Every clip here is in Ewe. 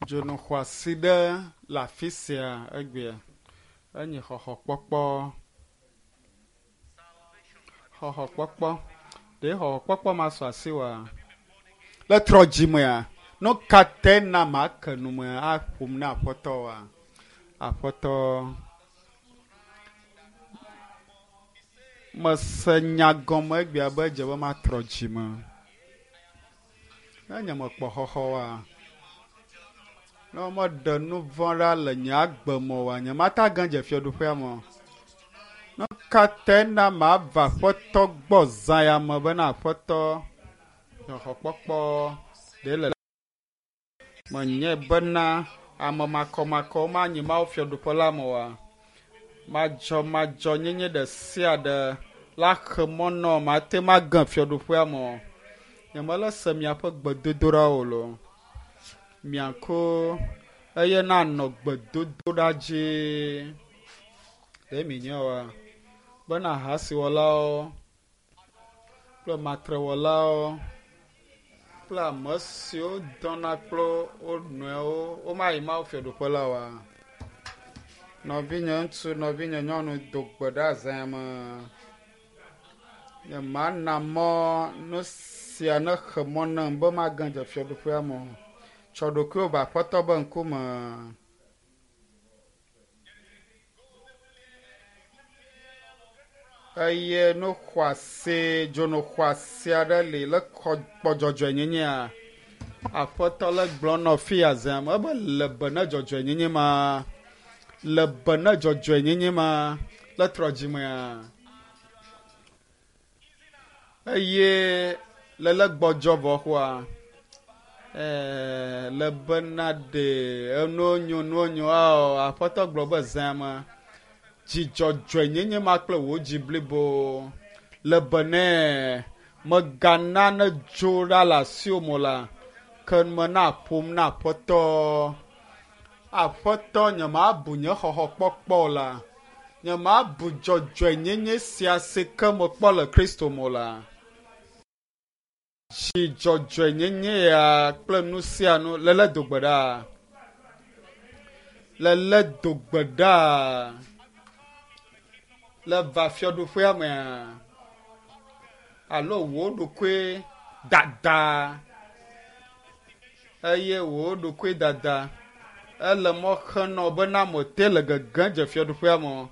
Dzonu xɔasi ɖe le afi sia egbea. Enye xɔxɔkpɔkpɔ. Xɔxɔkpɔkpɔ. Ɖe xɔxɔkpɔkpɔ ma sɔ asi wa? Le trɔ dzimea, nu ka te na make nu me aƒom na aƒetɔ wa? Aƒetɔ mese nya gɔme egbea be edze be matrɔ dzime. Ne nye mekpɔ xɔxɔ wa, ne womeɖe nu vɔ̃ ɖa le nye agbe me oa, nyemate age dze fiaɖuƒea me o. Nu ka tae na mava Aƒetɔ gbɔ zã ya me bena Aƒetɔ xɔxɔkpɔkpɔ ɖe le menye bena ame makɔmakɔwo manyi Mawu fiaɖuƒe la me oa? Madzɔmadzɔnyenye ɖe sia ɖe la xe mɔ nɔ mate ŋu age fiaɖuƒea me o. Nyemele se miaƒe gbedodoɖawo o loo. Miako eye nanɔ gbedodoɖa dzi. Ɖe mi nye oa? Bena ahasiwɔlawo kple matrewɔlawo kple ame siwo dɔna kple wo nɔewo womayi Mawu fiaɖuƒe la oa? Nɔvinye ŋutsu, nɔvinye nyɔnu do gbe ɖa zã me. Nyemana mɔ nu sia nexe mɔ nam be mage dze fiaɖuƒea me o. Tsɔ ɖokuiwò va Aƒetɔ be ŋkume. Eye nu xɔasi, dzonu xɔasi aɖe li le xɔ kpɔ dzɔdzɔenyenyea. Aƒetɔ le gblɔ nɔ fi ya zã me ebe le be ne dzɔdzɔenyenye ma, le be ne dzɔdzɔenyenye ma le trɔ dzimea. Eye le le gbɔdzɔ vɔ xoa, le bena ɖe enuwo nyo nuwo nyo ao Aƒetɔ gblɔ be zã me dzidzɔdzɔenyenye ma kple wò dzi blibo le be ne megana ne dzo ɖa le asiwò me o la, ke me na ƒom na Aƒetɔ. Aƒetɔ nyemabu nye xɔxɔkpɔkpɔ o la, nyemabu dzɔdzɔenyenye sia si ke mekpɔ le Kristo me o la. Dzidzɔdzɔenyenye ya kple nu sia nu lele do gbe ɖa. Lele do gbe ɖa. Le va fiaɖuƒea mea, alo wò ɖokui dada eye wò ɖokui dada ele mɔ xe nɔ bena mete le gege dze fiaɖuƒea me o.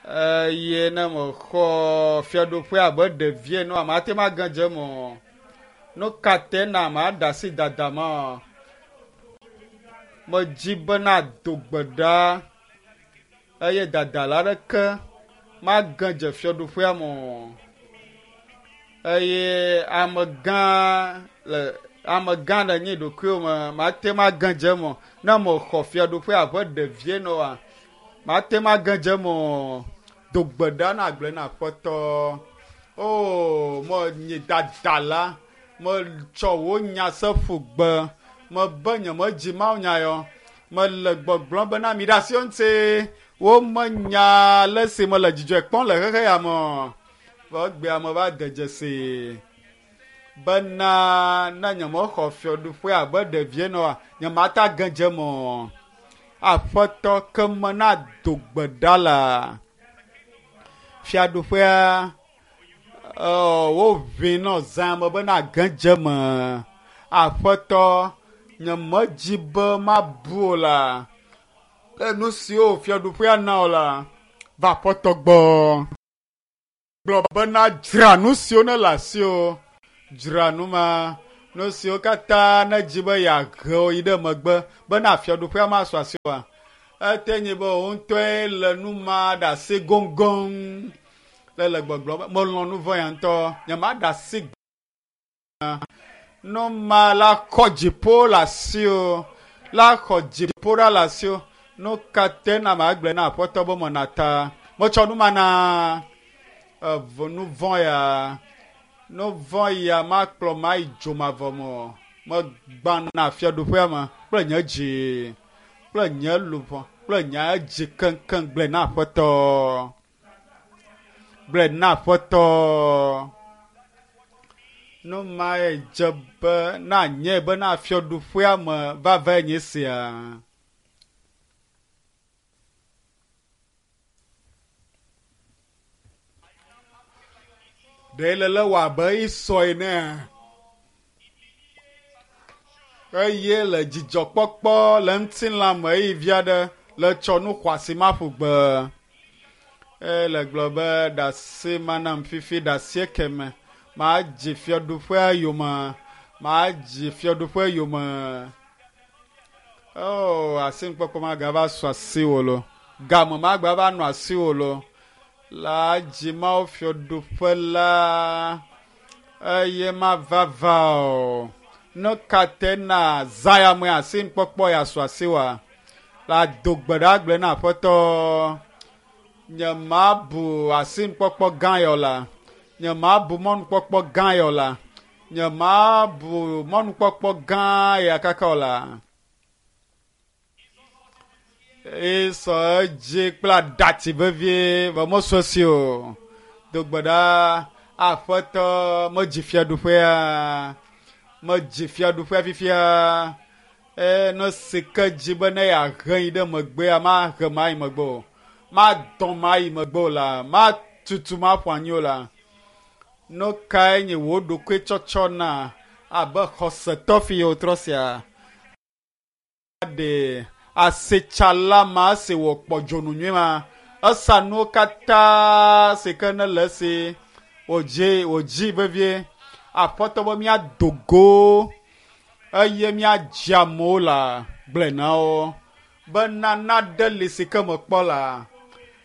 Eye ne mexɔ fiaɖuƒea abe ɖevi ene oa, mate ŋu age dze eme o. Nu ka te na maɖe asi dada ma o? Medzi bena do gbe ɖa eye dadala aɖeke mage dze fiaɖuƒea me o. Eye amegã le amegã le nye ɖokuiwo me mate ŋu age dze eme o. Ne mexɔ fiaɖuƒea abe ɖevi ene oa, mate ŋu age dze eme o. Do gbe ɖa na agblẽ na Aƒetɔ. O, menye dadala, metsɔ wò nya se ƒu gbe. Mebe nyemedzi Mawu nya yɔ. Mele gbɔgblɔm bena mi ɖe asiwo ŋuti. Womenya ale si mele dzidzɔe kpɔm le xexe ya me o. Vɔ egbea meva de dzesi bena ne nyemexɔ fiaɖuƒea abe ɖevi ene oa, nyemate age dze eme o. Aƒetɔ ke me na do gbe ɖa la fiaɖuƒea woʋĩ nɔ zã me bena age dze eme. Aƒetɔ nyemedzi be mabu o la le nu siwo fiaɖuƒea na o la va Aƒetɔ gbɔ. Gblɔ bena dzra nu siwo ne le asiwò, dzra nu ma, nu siwo katã ne dzi be yeahe wo yi ɖe megbe bena fiaɖuƒea masu asiwòa. Ete nyi be wò ŋutɔe le nu ma ɖe asi goŋgoŋ. Le le gbɔgblɔ be melɔ̃ nu vɔ̃ ya ŋutɔ, nyemaɖe asi gbã. Nu ma la xɔ dziƒo le asiwò, la xɔ dziƒo ɖa le asiwò. Nu ka te na magblɔe na Aƒetɔ be mena ta? Metsɔ nu ma na ev nu vɔ̃ ya. Nu vɔ̃ ya makplɔ mayi dzomavɔ me o. Megbãna fiaɖuƒea me kple nye dzi, kple nye luʋɔ, kple nye dzi keŋkeŋ gblɔe na Aƒetɔ. Gblɔe na Aƒetɔ. Nu mae dze be na nye bena fiaɖuƒea me vavae nye sia. Ɖe le le wɔ abe Esɔ enea? Eye le dzidzɔkpɔkpɔ le ŋutilã me eye vi aɖe le tsɔ nu xɔasi ma ƒu gbe. Eye le gblɔ be ɖase manam fifi ɖase keme. Madzi fiaɖuƒea yome. Madzi fiaɖuƒea yome. Oh, asinukpɔkpɔ magava su asiwò lo. Game magba va nɔ asiwò lo. La dzi Mawu fiaɖuƒe la eye mava va o. Nu ka te na zã ya me asinukpɔkpɔ ya su asiwòa? La do gbe ɖa gblɔe na Aƒetɔ. Nye mabu asinukpɔkpɔ gã yɔ la. Nye mabu mɔnukpɔkpɔ gã yɔ la. Nye mabu mɔnukpɔkpɔ gã ya kaka o la. Esɔ edzi kple aɖatsi vevie vɔ mesu esi o. Do gbe ɖa Aƒetɔ medzi fiaɖuƒea. Medzi fiaɖuƒea fifia. Eye ne si ke dzi be ne yeahe yi ɖe megbea, mahe ma yi megbe o. Madɔ ma yi megbe o la. Matutu ma ƒo anyi o la. Nu kae nye wò ɖokui tsɔtsɔ na abe xɔsetɔ fi yi wotrɔ sia? Ɖe asitsala ma si wòkpɔ dzonu nyui ma, esa nuwo katã si ke ne le esi wòdzi wòdzi vevie. Aƒetɔ be míado go eye míadzi amewo la gblɔe na wo bena naɖe li si ke mekpɔ la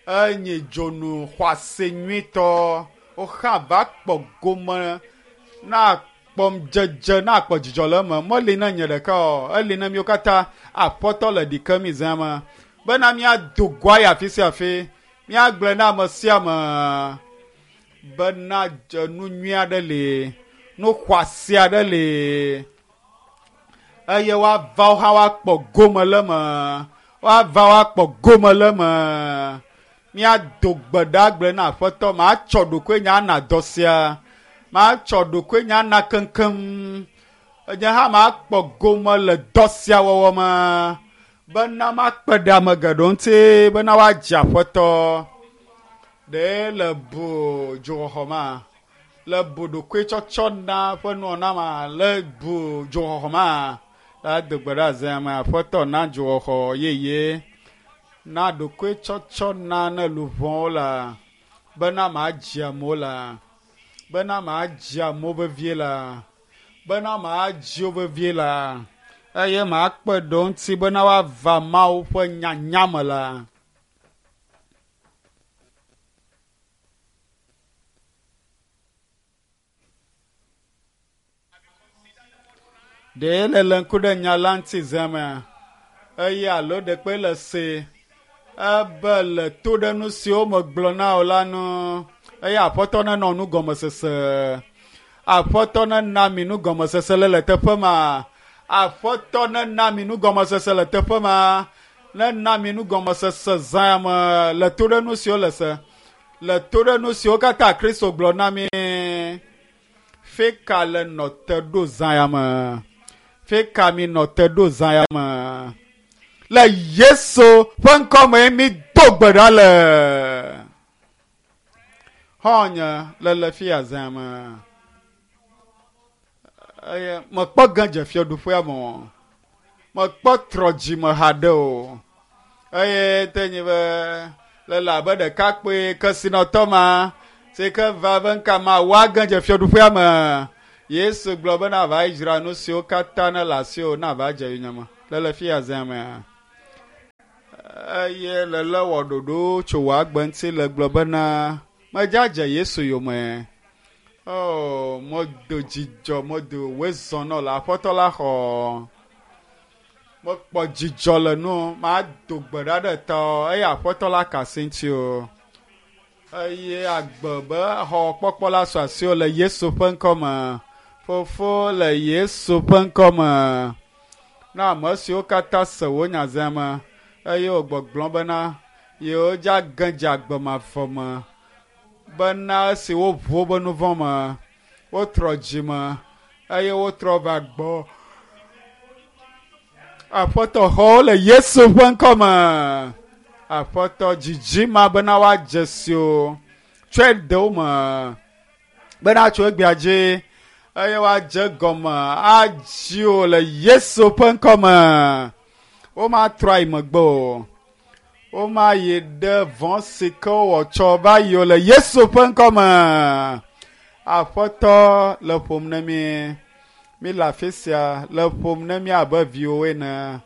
enye dzonu xɔasi nyuitɔ. Woxa va kpɔ gome na kpɔm dzedze na kpɔ dzidzɔ le eme. Meli na nye ɖeka o, eli na míwo katã. Aƒetɔ le ɖi ke mi zã me bena míado go ayi afi sia afi. Míagblɔe na ame sia ame bena dze nu nyui aɖe li, nu xɔasi aɖe li eye woava wo hã woakpɔ gome le eme. Woava woakpɔ gome le eme. Míado gbe ɖa gblɔe na Aƒetɔ, matsɔ ɖokuinye ana dɔ sia. Matsɔ ɖokuinye ana keŋkeŋ. Nye hã makpɔ gome le dɔ sia wɔwɔ me bena makpe ɖe ame geɖewo ŋuti bena woadze Aƒetɔ. Ɖe le bu dzoxɔxɔ ma, le bu ɖokuitsɔtsɔ na ƒe nuwɔna ma, le bu dzoxɔxɔ ma, la do gbe ɖa zã me Aƒetɔ na dzoxɔxɔ yeye. Na ɖokuitsɔtsɔ na ne luʋɔwo la bena madzi amewo la bena madzi amewo vevie la bena madzi wo vevie la eye makpe ɖe wo ŋuti bena woava Mawu ƒe nyanya me la. Ɖe le le ŋku ɖe nya la ŋuti zã mea? Eye alo ɖekpe le se ebe le to ɖe nu siwo megblɔ na wò la nu eye Aƒetɔ nenɔ nugɔmesese. Aƒetɔ nena mi nugɔmesese le le teƒe ma. Aƒetɔ nena mi nugɔmesese le teƒe ma. Nena mi nugɔmesese zã me le to ɖe nu siwo le se. Le to ɖe nu siwo katã Kristo gblɔ na mi. Fika le nɔ te ɖo zã ya me? Fika mi nɔ te ɖo zã ya me? Le Yesu ƒe ŋkɔ me mi do gbe ɖa le. Xɔ̃nye le le fia zã me. Eye mekpɔ ge dze fiaɖuƒea me o. Mekpɔ trɔ dzime haɖe o. Eye te nyi be le le abe ɖekakpui kesinɔtɔ ma si ke va be ŋka ma woage dze fiaɖuƒea me. Yesu gblɔ be nava yi dzra nu siwo katã ne le asiwò nava dze yonyeme. Le le fia zã mea. Eye le le wɔ ɖoɖo tso wò agbe ŋuti le gblɔ bena medza dze Yesu yome. Oh, medo dzidzɔ, medo wòezɔ nɔ le Aƒetɔ la xɔ. Mekpɔ dzidzɔ le nu, mado gbe ɖa ɖe tɔ eye Aƒetɔ la ka asi ŋuti o. Eye agbe be xɔ kpɔkpɔ la su asiwò le Yesu ƒe ŋkɔ me. Fofo le Yesu ƒe ŋkɔ me. Na ame siwo katã se wò nya zã me eye wògbɔgblɔ bena yewodze age dze agbe mavɔ me bena esi woʋu woƒe nu vɔ̃ me Wotrɔ dzime eye wotrɔ va gbɔ. Aƒetɔ xɔwo le Yesu ƒe ŋkɔme. Aƒetɔ dzidzi ma bena woadze si o. Tsɔe de wo me bena tso egbea dzi eye woadze gɔme adzi o le Yesu ƒe ŋkɔme. Womatrɔ ayi megbe o. Womayi ɖe vɔ̃ si ke wowɔ tsɔ va yi o le Yesu ƒe ŋkɔme. Aƒetɔ le ƒom ne mi. Mi le afi sia le ƒom ne mi abe viwo ene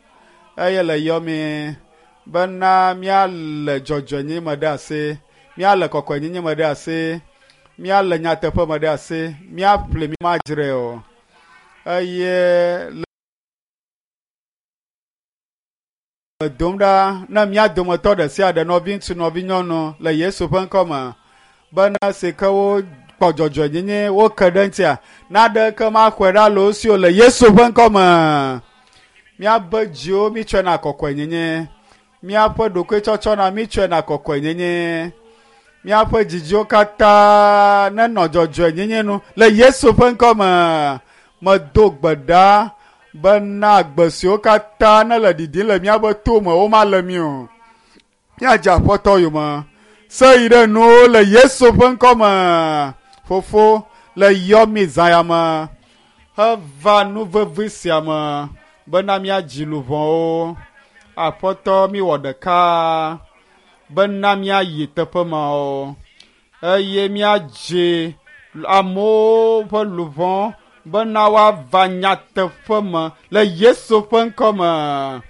eye le yɔ mi bena míale dzɔdzɔenyenye me ɖe asi, míale kɔkɔenyenye me ɖe asi, míale nyateƒe me ɖe asi, míaƒle mi madzrae o. Eye le dom ɖa ne mía dometɔ ɖe sia ɖe nɔviŋutsu nɔvinyɔnu le Yesu ƒe ŋkɔme bena si ke wokpɔ dzɔdzɔenyenye woke ɖe ŋutia naɖeke maxɔe ɖa le wo si o le Yesu ƒe ŋkɔme. Míabe dziwo mítsɔe na kɔkɔenyenye, míaƒe ɖokuitsɔtsɔ na mítsɔe na kɔkɔenyenye, míaƒe dzidziwo katã nenɔ dzɔdzɔenyenye nu le Yesu ƒe ŋkɔme. Medo gbe ɖa bena gbe siwo katã nele ɖiɖim le míaƒe to me womale mí o. Míadze Aƒetɔ yome. Se yi ɖe nuwo le Yesu ƒe ŋkɔme. Fofo le yɔ mi zã ya me heva nu vevi sia me bena míadzi luʋɔwo. Aƒetɔ míwɔ ɖeka bena míayi teƒe mawo eye míadzi amewo ƒe luʋɔ bena woava nyateƒe me le Yesu ƒe ŋkɔme.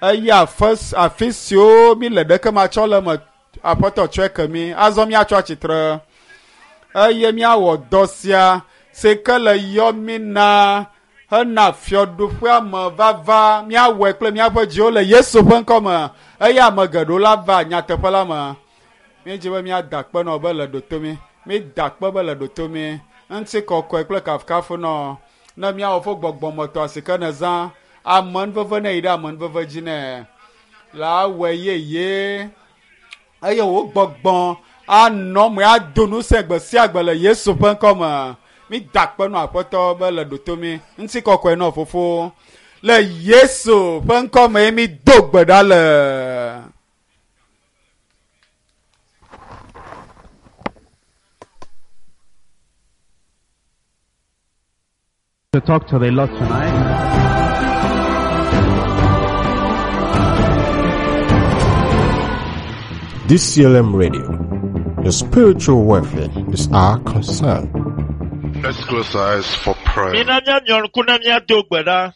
Eye afi siwo mi le ɖeke matsɔ le me Aƒetɔ tsɔe ke mi. Azɔ míatsɔ atsitre eye míawɔ dɔ sia si ke le yɔ mi na hena fiaɖuƒea me vava. Míawɔe kple míaƒe dziwo le Yesu ƒe ŋkɔme eye ame geɖewo la va nyateƒe la me. Míedzi be míada akpe nɔ be le ɖoto mi. Mída akpe be le ɖoto mi. Ŋutikɔkɔe kple kafukafu nɔ ne míawɔ fo gbɔgbɔmetɔ si ke nezã amenuveve ne yi ɖe amenuveve dzi nɛ la awɔe yeye eye wò gbɔgbɔ anɔ me ado ŋusẽ gbe sia gbe le Yesu ƒe ŋkɔme. Mída akpe nɔ Aƒetɔ be le ɖoto mi. Ŋutikɔkɔe nɔ fofo le Yesu ƒe ŋkɔme mído gbe ɖa le. To talk to the Lord tonight. DCLM Radio. Your spiritual welfare is our concern. Let's close our eyes for prayer. Mina míamia ŋku ne míado gbe ɖa.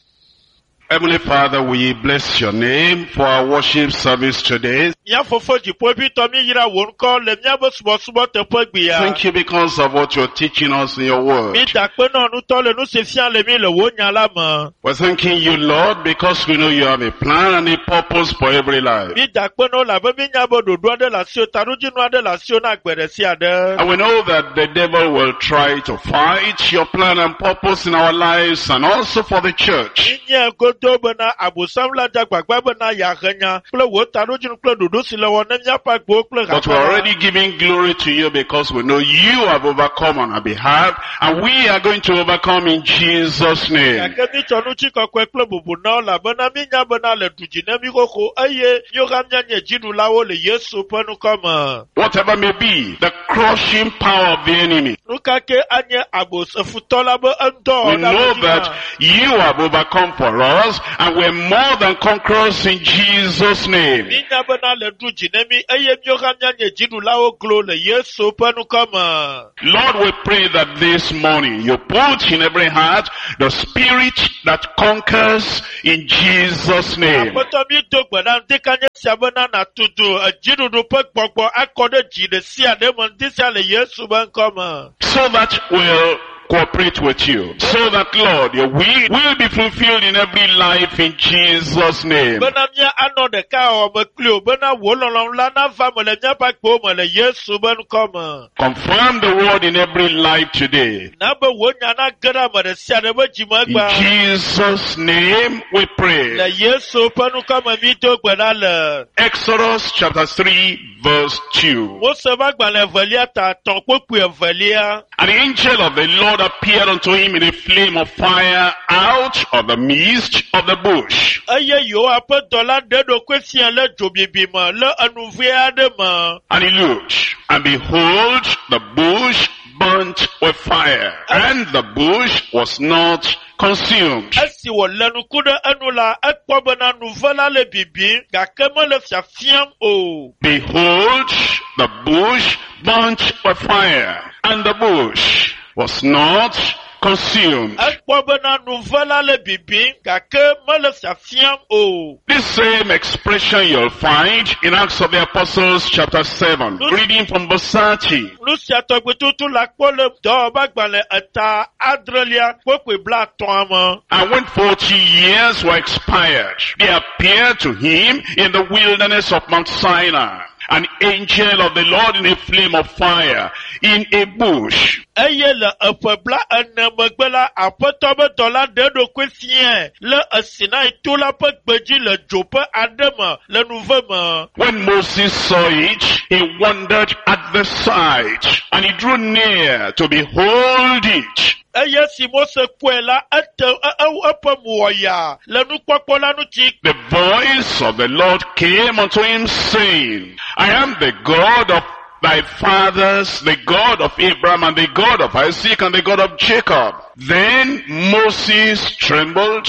Heavenly Father, we bless your name for our worship service today. Mía fofo dziƒoʋĩtɔ míeyra wò ŋkɔ le míaƒe subɔsubɔ teƒe gbea. Thank you because of what you're teaching us in your word. Mída akpe nɔ nutɔ le nu si fia le mí le wò nya la me. We're thanking you, Lord, because we know you have a plan and a purpose for every life. Mída akpe nɔ elabe míenya be ɖoɖo aɖe le asiwò, taɖodzinu aɖe le asiwò na agbe ɖe sia ɖe. And we know that the devil will try to fight your plan and purpose in our lives and also for the church. Míenyae godoo bena Abosam la dze agbagba bena yeahe nya kple wò taɖodzinu kple ɖoɖo si le wɔ ne míaƒe agbewo kple But we're hamea la. already giving glory to you because we know you have overcome on our behalf and we are going to overcome in Jesus' name. Gake mítsɔ ŋutikɔkɔe kple bubu na wo elabena míenya bena le du dzi ne mí xoxo eye míwo hã míanye dziɖulawo le Yesu ƒe ŋkɔ me. Whatever may be the crushing power of the enemy, Nu ka ke anye abosefutɔ la be eŋudɔwɔwɔ we ɖe know ame dzi that hã. you have overcome for us and we're more than conquerors in Jesus' name. Míenya bena le du dzi ne mí eye míwo hã míanye dziɖulawo glo le Yesu ƒe ŋkɔ me. Lord, we pray that this morning you put in every heart the spirit that conquers in Jesus' name. Aƒetɔ mi do gbe ɖa ŋdi ka nye sia bena nàtutu edziɖuɖu ƒe gbɔgbɔ akɔ ɖe dzi ɖe sia ɖe me ŋdi sia le Yesu ƒe ŋkɔ me. So that we'll cooperate with you. So that, Lord, your will will be fulfilled in every life in Jesus' name. Bena mía anɔ ɖeka wɔwɔ me kpli wò bena wò lɔlɔ̃nu la nava me le míaƒe agbewo me le Yesu ƒe ŋkɔ me. Confirm the word in every life today. Na be wò nya nage ɖe ame ɖe sia ɖe ƒe dzime In egbea. Jesus' name we Le pray. Yesu ƒe ŋkɔ me mi do gbe ɖa le. Exodus chapter 3 verse 2. Mose ƒe agbalẽ evelia ta etɔ̃ kpokpui evelia. And the angel of the Lord Lord appeared unto him in a flame of fire out of the midst of the bush. Eye Yehowa ƒe dɔla ɖe eɖokui fia le dzobibi me le enuve aɖe me. And he looked, and behold, the bush burnt with fire, and the bush was not consumed. Esi wòlé ŋku ɖe enu la, ekpɔ bena nuve la le bibim gake mele fiafiam o. Behold, the bush burnt with fire, and the bush was not consumed. Ekpɔ bena nuve la le bibim gake mele fiafiam o. This same expression you'll find in Acts of the Apostles chapter 7, reading from verse 30. Nu sia tɔgbi tutu la kpɔ le dɔwɔƒegbalẽ eta adrelia kpokpoe blatɔ̃a me. And when 40 years were expired, there appeared to him in the wilderness of Mount Sinai an angel of the Lord in a flame of fire, in a bush. Eye le eƒe bla ene megbe la, Aƒetɔ be dɔla ɖe eɖokui fiae le Sinai to la ƒe gbedzi le dzo ƒe aɖe me le nuve me. When Moses saw it, he wondered at the sight, and he drew near to behold it. Eye si Mose kpɔe la, ete e- e- eƒe mo wɔ yaa le nukpɔkpɔ la ŋuti. The voice of the Lord came unto him saying, I am the God of thy fathers, the God of Abraham and the God of Isaac and the God of Jacob. Then Moses trembled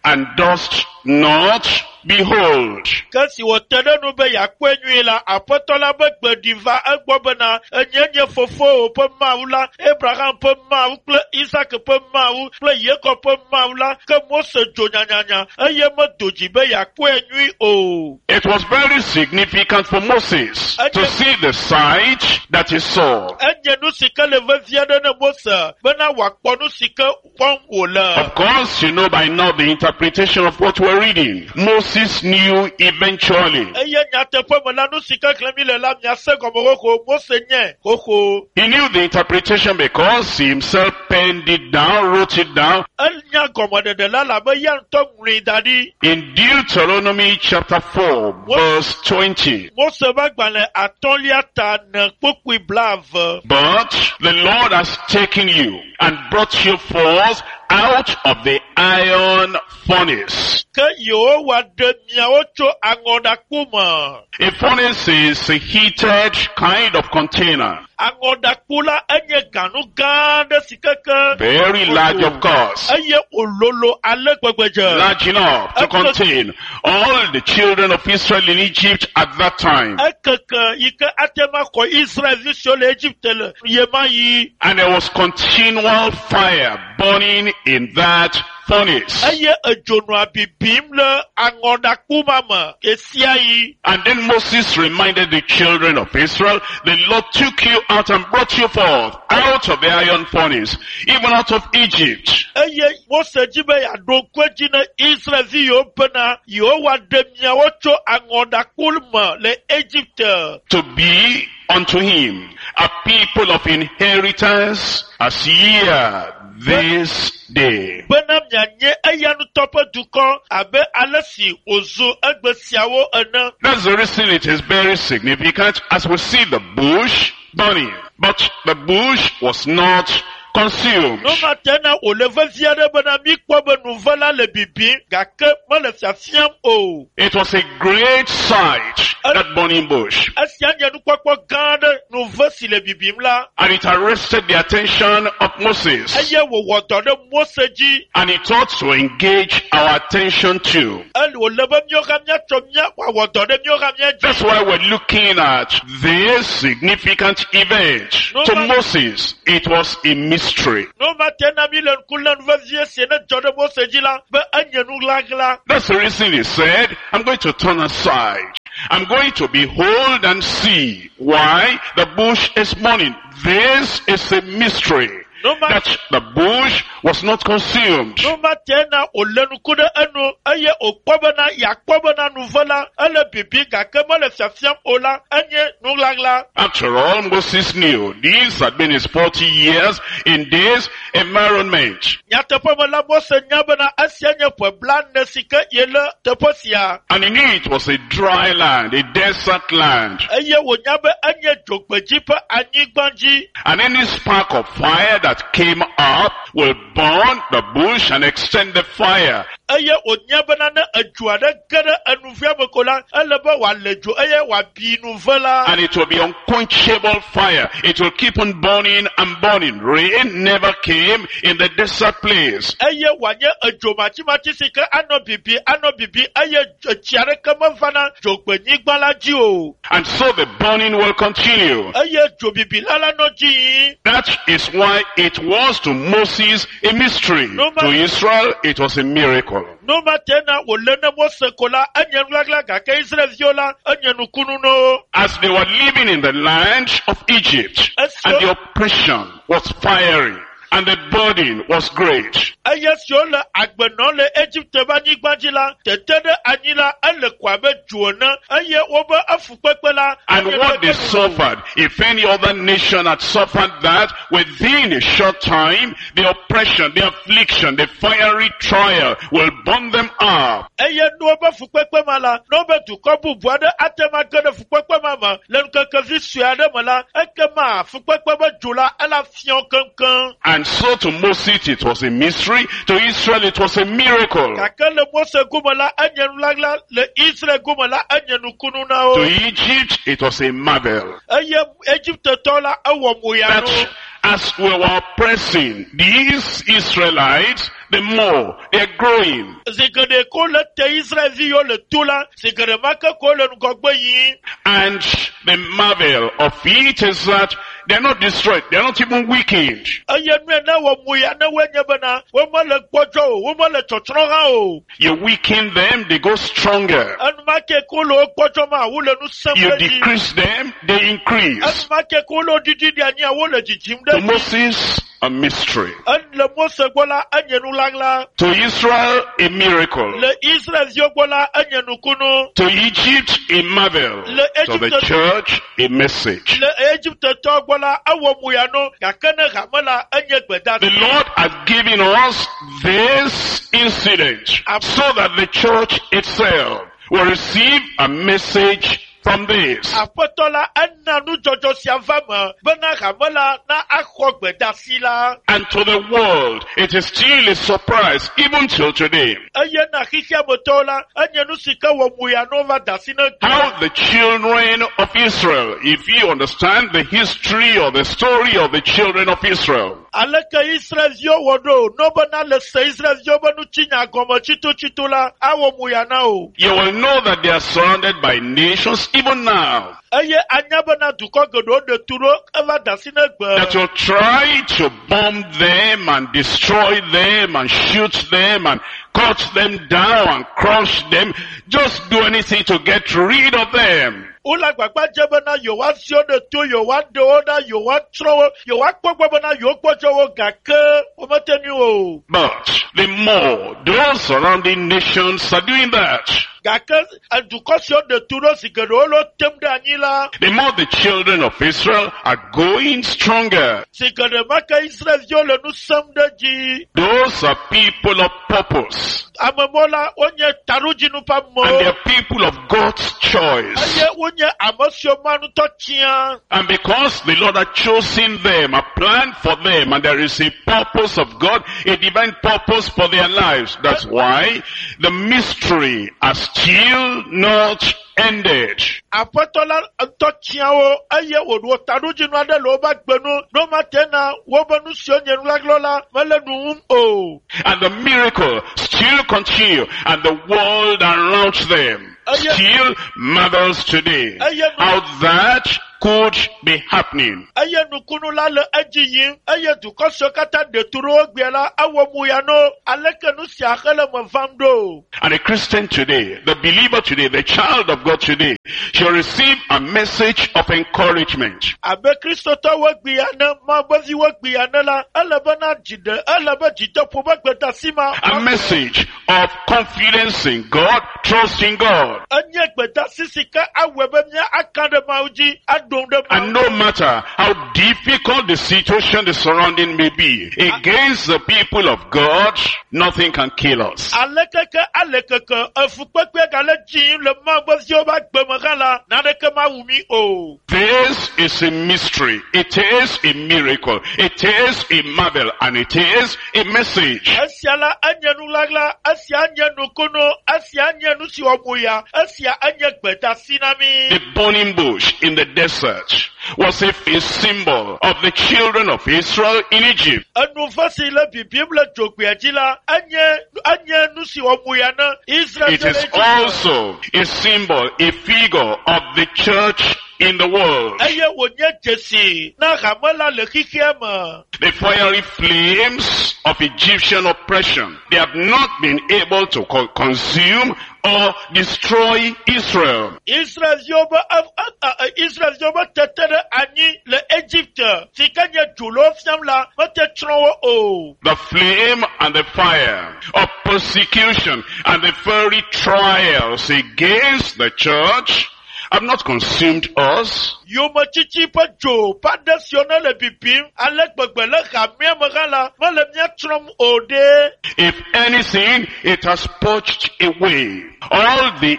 and dost not behold. Ke si wòte ɖe nu be yeakpɔe nyuie la, Aƒetɔ la be gbe ɖi va egbɔ bena, enye nye fofowò ƒe Mawu la, Abraham ƒe Mawu kple Isak ƒe Mawu kple Yakob ƒe Mawu la. Ke Mose dzo nyanyanya eye medo dzi be yeakpɔe nyuie o. It was very significant for Moses to see the sight that he saw. Enye nu si ke le vevie ɖe ne Mose bena wòakpɔ nu si ke kpɔm wòle. Of course, you know by now the interpretation of what we're reading. Moses knew eventually. Eye nyateƒe me la, nu si ke xlẽm mi le la, miase gɔme xoxo. Mose nye xoxo. He knew the interpretation because he himself penned it down, wrote it down Enya gɔmeɖeɖe la labe ya ŋutɔ ŋlɔe da ɖi. in Deuteronomy chapter 4 verse 20. Mose ƒe agbalẽ atɔ̃lia ta ne kpokpoe blaeve. But the Lord has taken you and brought you forth out of the iron furnace. Ke Yehowa ɖe miawo tso aŋɔɖakpo me. A furnace is a heated kind of container. Aŋɔɖakpo la enye ganu gã aɖe si keke. Very large of course. Eye wòlolo ale gbegbe dze. Large enough to contain all the children of Israel in Egypt at that time. Ekeke yi ke ate ŋu axɔ Israelvi siwo le Egipte le ɣemaɣi. And there was continual fire burning in that furnace. Eye edzo nɔa bibim le aŋɔɖakpo ma me ɣesiaɣi. And then Moses reminded the children of Israel, the Lord took you out and brought you forth out of the iron furnace, even out of Egypt. Eye Mose dzi be yeaɖo ŋku edzi ne Israelvi yiwo bena Yehowa ɖe miawo tso aŋɔɖakpo me le Egipte. To be unto him a people of inheritance as ye are this day. Bena mianye eya ŋutɔ ƒe dukɔ abe ale si wòzu egbe siawo ene. That's the reason it is very significant as we see the bush burning. But the bush was not consumed. Nu ma te na wòle vevie aɖe bena míkpɔ be nuve la le bibim gake mele fiafiam o. It was a great sight, that burning bush. Esia nye nukpɔkpɔ gã aɖe nuve si le bibim la And it arrested the attention of Moses. eye wòwɔ dɔ ɖe Mose dzi. And it ought to engage our attention too. Ele wòle be míawo hã míatsɔ mía wòawɔ dɔ ɖe míawo hã mía dzi. That's why we're looking at this significant event. To Moses, it was a mystery. Nu ma te na mí le ŋku lém vevie si ne dzɔ ɖe Mose dzi la be enye nuɣlaɣla. That's the reason he said, I'm going to turn aside. I'm going to behold and see why the bush is burning. This is a mystery. Nu ma That the bush was not consumed. nu ma te na wòlé ŋku ɖe enu eye wòkpɔ bena yeakpɔ bena nuve la ele bibim gake mele fiafiam o la enye nuɣlaɣla. After all, Moses knew these had been his 40 years in this environment. Nyateƒe me la Mose nya bena esia nye ƒe blaene si ke yele teƒe sia And he knew it was a dry land, a desert land. eye wònya be enye dzogbedzi ƒe anyigba dzi And any spark of fire that that came up will burn the bush and extend the fire. Eye wònya bena ne edzo aɖe ge ɖe enuvea me ko la, ele be wòale dzo eye wòabi nuve la. And it will be unquenchable fire. It will keep on burning and burning. Rain never came in the desert place. Eye wòanye edzo matsimatsi si ke anɔ bibi anɔ bibi eye etsi aɖeke mevana dzogbenyigba la dzi o. And so the burning will continue. Eye dzobibi la la nɔ dzi yim. That is why it was to Moses a mystery. No To Israel, it was a miracle. Nu ma te na wòle ne Mose ko la, enye nuɣaɣla gake Israelviwo la, enye nukunu na wo. As they were living in the land of Egypt, and the oppression was fiery, and the burden was great. Eye siwo le agbe nɔm le Egipte ƒe anyigba dzi la, tete ɖe anyi la, ele ko abe dzo ene eye wobe efukpekpe la, And enye what they kpekpe nu. suffered, if any other nation had suffered that, within a short time, the oppression, the affliction, the fiery trial will burn them up. Eye ne wobe fukpekpe ma la, ne wobe dukɔ bubu aɖe ate ŋu age ɖe fukpekpe ma me le ŋkekevi sue aɖe me la, ekema fukpekpe be dzo la, ela fiã wo keŋkeŋ. And so to Moses it was a mystery, to Israel it was a miracle. Gake le Mose gome la, enye nuɣaɣla, le Israel gome la, enye nukunu na wo. To Egypt it was a marvel. Eye Egiptetɔwo la, ewɔ moya na wo. That as we were oppressing these Israelites, the more they're growing. Zi geɖe ko le te Israelviwo le to la, zi geɖe ma ke ko le ŋgɔgbe yim. And the marvel of it is that they're not destroyed, they're not even weakened. Eye nue ne wɔ moya ne woe nye bena, womele gbɔdzɔ o, womele tsɔtsrɔ̃ hã o. You weaken them, they go stronger. Enumake ko le wo gbɔdzɔ ma, wole nu sẽm You ɖe dzi. decrease them, they increase. Enumake ko le wo ɖiɖi ɖe anyia, wole dzidzim To ɖe dzi. Moses, a mystery. Le Mose gbɔ la, enye nuɣaɣla. To Israel, a miracle. Le Israelviwo gbɔ la, enye nukunu. To Egypt, a marvel. Le To the Egypte- church, a message. Le Egiptetɔwo gbɔ la, ewɔ moya no, gake ne hame la, enye gbedasi. The Lord has given us this incident so that the church itself will receive a message from this. Aƒetɔ la ena nudzɔdzɔ sia va me bena hame la na axɔ gbedasi la. And to the world, it is still a surprise, even till today, Eye na xexeametɔwo la, enye nu si ke wɔ moya no va da asi ne how the children of Israel, if you understand the history or the story of the children of Israel, Aleke Israelviwo wɔ ɖo ne bena le se Israelviwo be nutsinya gɔme tsitotsito la, awɔ moya na o. you will know that they are surrounded by nations even now Eye anya bena dukɔ geɖewo ɖe tu ɖo eva da asi ne that gbe. will try to bomb them and destroy them and shoot them and cut them down and crush them. Just do anything to get rid of them. Wole agbagba dze bena yewoasi wo ɖe to, yewoaɖe wo ɖa, yewoatsrɔ̃ wo, yewoakpɔ gbɔ bena yewogbɔdzɔ wo gake womete ŋui o. But the more those surrounding nations are doing that, Gake dukɔ siwo ɖe tu ɖo zi geɖewo le wo tem ɖe anyi la, the more the children of Israel are going stronger. zi geɖe ma ke Israelviwo le nu sẽm ɖe dzi. Those are people of purpose. Amemɔ la, wonye taɖodzinu ƒe And they amewo. are people of God's choice. Eye wonye ame siwo ma ŋutɔ tia. And because the Lord had chosen them, a plan for them, and there is a purpose of God, a divine purpose for their lives. That's why the mystery has still not ended. Aƒetɔ la ŋutɔ tia wo eye wòɖo taɖodzinu aɖe le woƒe agbe nu. Ne womate na woƒe nu siwo nye nuɣaɣla la mele nu wum o. And the miracle still continue, and the world around them still marvels today how that could be happening. Eye nukunu la le edzi yim eye dukɔ siwo katã ɖe tu ɖe wo gbea la ewɔ mu ya no. Aleke nu sia hele me vam ɖo? And a Christian today, the believer today, the child of God today, shall receive a message of encouragement. Abe kristotɔwo gbea ne mabeviwo gbea ne la, ele be na dzi ɖe, ele be dzideƒo be gbedasi ma. A message of confidence in God, trust in God. Enye gbedasi si ke awɔe be mía aka ɖe Mawu dzi, aɖo aɖo ŋu ɖe And Mawu. no matter how difficult the situation, the surrounding may be, against the people of God, nothing can kill us. Alekeke alekeke efukpekpe gale dzim le Mawu ƒe viwo ƒe agbe me hã la, naneke mawu mí o. This is a mystery. It is a miracle. It is a marvel and it is a message. Esia la enye nuɣaɣla, esia nye nukunu, esia nye nu si wɔ moya, esia enye gbedasi na mí. The burning bush in the desert was a symbol of the children of Israel in Egypt. Enuve si le bibim le dzogbea dzi la, enye enye nu si wɔ moya na Israel It is also a symbol, a figure of the church in the world. Eye wònye dzesi na hame la le xexea me. The fiery flames of Egyptian oppression, they have not been able to consume or destroy Israel. Israelviwo be e- e- e- Israelviwo be tete ɖe anyi le Egipte si ke nye dzo le wo fiam la mete tsrɔ̃ wo o. The flame and the fire of persecution and the fiery trials against the church have not consumed us. Yometsitsi ƒe dzo ƒe aɖe siwo ne le bibim ale gbegbe le hamea me hã la mele mía tsrɔ̃m o ɖe. If anything, it has purged away all the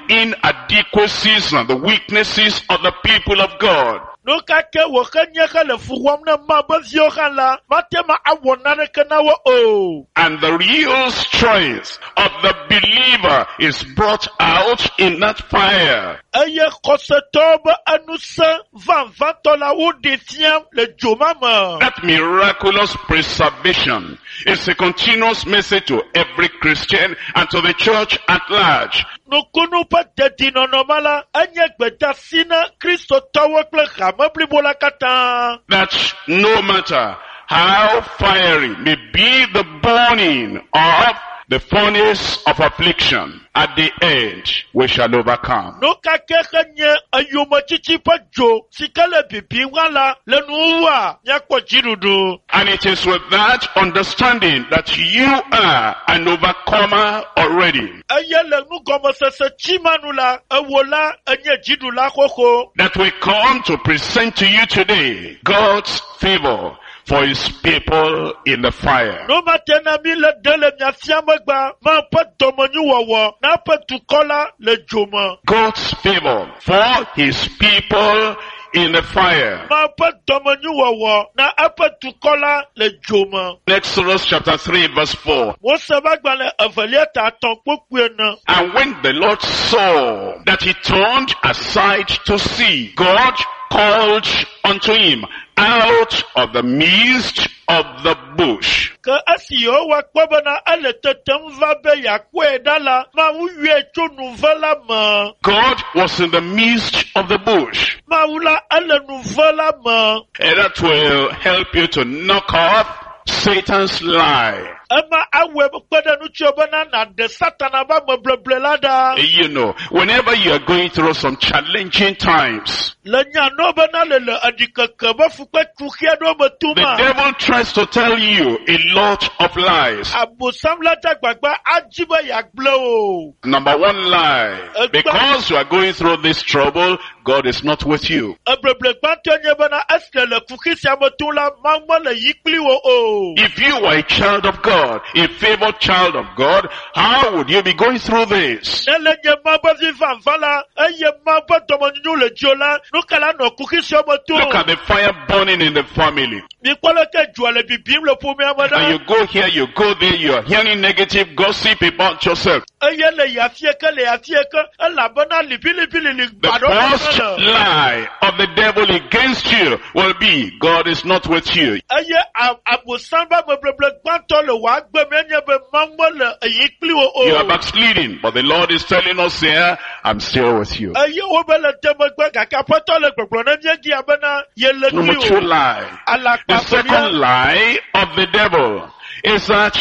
inadequacies and the weaknesses of the people of God. Nu ka ke wòhe nye hele fu wɔm ne Mawu ƒe viwo hã la, mate ma awɔ naneke na wo o. And the real strength of the believer is brought out in that fire. Eye xɔsetɔwo be enusẽ vavãtɔ la woɖe fiam le dzo ma me. That miraculous preservation is a continuous message to every Christian and to the church at large. Nukunu ƒe dedinɔnɔ ma la, enye gbedasi na kristotɔwo kple hame blibo la katã. That no matter how fiery may be the burning of the furnace of affliction, at the end we shall overcome. Nu ka ke he nye eyometsitsi ƒe dzo si ke le bibim hã la, le nuwuwua, míakpɔ dziɖuɖu. And it is with that understanding that you are an overcomer already. Eye le nugɔmesese tsi ma nu la, ewo la, enye dziɖula xoxo. That we come to present to you today God's favor for his people in the fire. Nu ma te na mi le ɖe le mia fia megbea, Mawu ƒe dɔmenyuwɔwɔ na eƒe dukɔ la le dzo me. God's favor for his people in the fire. Mawu ƒe dɔmenyuwɔwɔ na eƒe dukɔ la le dzo me. Exodus chapter 3 verse 4. Mose ƒe agbalẽ evelia ta etɔ̃ kpokpui ene. And when the Lord saw that he turned aside to see, God called unto him out of the midst of the bush. Ke esi Yehowa kpɔ bena ele tetem va be yeakpɔe ɖa la, Mawu yɔe tso nuve la me. God was in the midst of the bush. Mawu la ele nuve la me. And that will help you to knock off Satan's lie. Ema awɔe kpe ɖe ŋutiwò bena nàɖe Satana ƒe amebleble la ɖa. You know, whenever you are going through some challenging times, Le nya nɔ bena le le eɖikeke be fukpekuxi aɖewo me the toma. devil tries to tell you a lot of lies. Abosam la dze agbagba adzi be yeagblẽ o. Number one lie. Because you are going through this trouble, God is not with you. Ebleble gbãtɔe nye bena esi le kuxi sia me tom la, Mawu mele yi kpli wo o. If you were a child of God, a favored child of God, how would you be going through this? Ne le nye Mawu ƒe vi vavã la, eye Mawu ƒe dɔmenyonyo le dziwò la, nu ka la nɔ kuxi sia me tom? Look at the fire burning in the family. Mikpɔ leke dzoa le bibim le ƒomea me And ɖa. you go here, you go there, you are hearing negative gossip about yourself. Eye le yafie ke le yafie ke, elabena liʋiliʋilili The gba ɖewo first le. lie of the devil against you will be, God is not with you. Eye a- abosam ƒe amebleble gbãtɔ le wò agbe me enye be Mawu mele eyi kpli wo You are o. backsliding, but the Lord is telling us here, I'm still with you. Eye wo be le te megbe gake Aƒetɔ le gbɔgblɔ na mía dzia bena yele Number kpli two wo. lie. The Alakpa second lie of the devil is that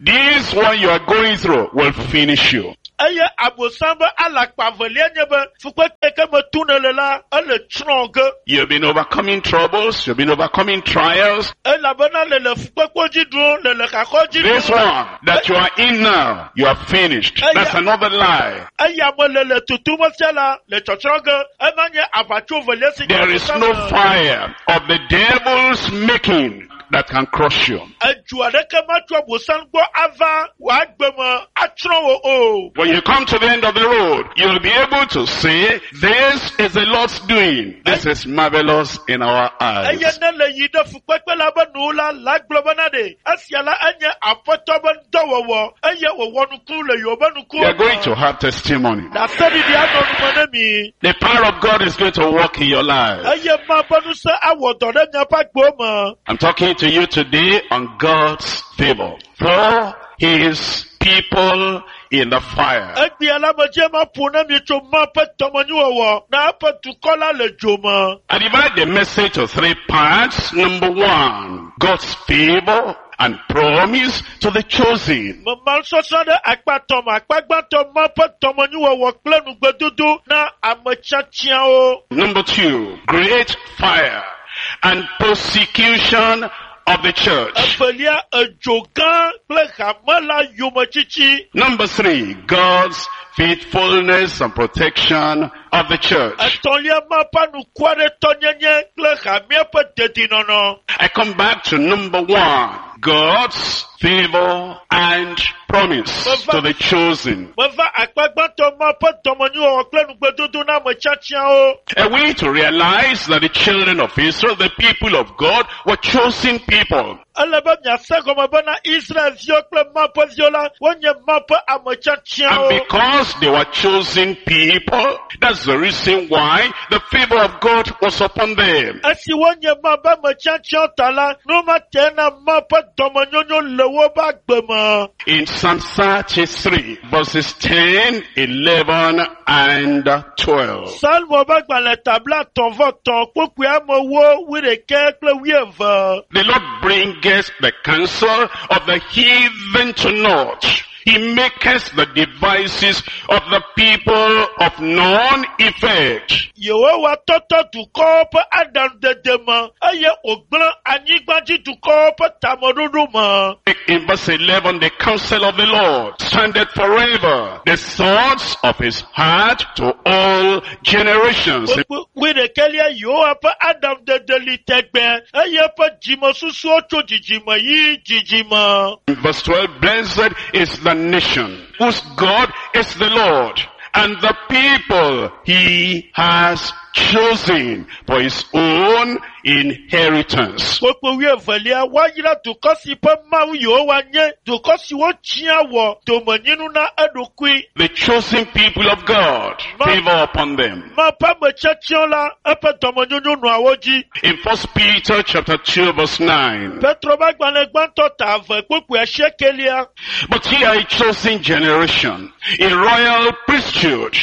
this one you are going through will finish you. Eye abosam be alakpa velia nye be fukpekpe ke me tu ne le la, ele tsrɔ̃ ge. You've been overcoming troubles, you've been overcoming trials. Elabena le le fukpekpewo dzi ɖum, le le xaxɔ dzi This ɖum. one that you are in now, you are finished. That's another lie. Eya me le le tutum fia la le tsɔtsrɔ̃ ge. Ema nye aʋatso velia si There is no fire of the devil's making that can crush you. Edzo aɖeke matso abosam gbɔ ava wò agbe me atsrɔ̃ wò o. When you come to the end of the road, you'll be able to say, this is the Lord's doing. This is marvelous in our Eye eyes. ne le yi ɖe fukpekpe la be nuwo la, la gblɔ bena ɖe esia la enye aƒetɔ be ŋdɔwɔwɔ eye wòwɔ nuku le yewo be nukuwo You are going me. to have testimony. Ɖaseɖiɖi anɔ nume ne mi. The power of God is going to work in your life. Eye ma ƒe ŋusẽ awɔ dɔ ɖe miaƒe agbewo me. I'm talking to you today on God's favor for his people in the fire. Egbea la medze ma ƒo ne mi tso ma ƒe dɔmenyuwɔwɔ na eƒe dukɔ la le dzo me. I divide the message to three parts. Number one, God's favor and promise to the chosen. Mema nusɔsrɔ̃ ɖe akpa tɔn me. Akpa gbãtɔ ma ƒe dɔmenyuwɔwɔ kple nugbedodo na ame tiatiawo. Number two, great fire and persecution of the church. Evelia, edzo gã kple hame la yometsitsi. Number three, God's faithfulness and protection of the church. Etɔ̃lia, ma ƒe anukuaɖetɔnyenye kple hamea ƒe dedinɔnɔ. I come back to number one, God's favor and promise to the chosen. Meva akpa gbãtɔ ma ƒe dɔmenyuwɔwɔ kple nugbedodo na ame tiatiawo. A way to realize that the children of Israel, the people of God, were chosen people. Ele be miase gɔme bena Israelviwo kple ma ƒe viwo la, wonye ma ƒe ame And tiatiawo. because they were chosen people, that's the reason why the favor of God was upon them. Esi wonye ma ƒe ame tiatiawo ta la, nu ma te na ma ƒe dɔmenyonyo le woƒe agbe me. In Psalm 33, verses 10, 11, and 12. Salmo ƒe gbalẽ tabla tɔ̃ vɔ tɔ̃ kpokpui amewo wuiɖekɛ kple wuieve. The Lord bringeth the counsel of the heathen to naught. He maketh the devices of the people of none effect. Yehowa tɔtɔ dukɔwo ƒe aɖaŋudede me eye wògblẽ anyigbadzidukɔwo ƒe tameɖoɖo me. In verse 11, the counsel of the Lord standeth forever, the thoughts of his heart to all generations. Kpokpui wuiɖekɛlia Yehowa ƒe aɖaŋudede li tɛgbɛ eye eƒe dzimesusuwo tso dzidzime yi dzidzime. In verse 12, blessed is the nation whose God is the Lord and the people he has chosen for his own inheritance. Kpokpui wuievelia woayra dukɔ si ƒe Mawu Yehowa nye, dukɔ si wotsia wɔ domenyinu na eɖokui. The chosen people of God, favor upon them. Ma ƒe ame tiatiawo la, eƒe dɔmenyonyo nɔa wo dzi. In 1 Peter chapter 2 verse 9, Petro ƒe agbalẽ gbãtɔ ta eve kpokpui asiekelia. but ye are a chosen generation, a royal priesthood,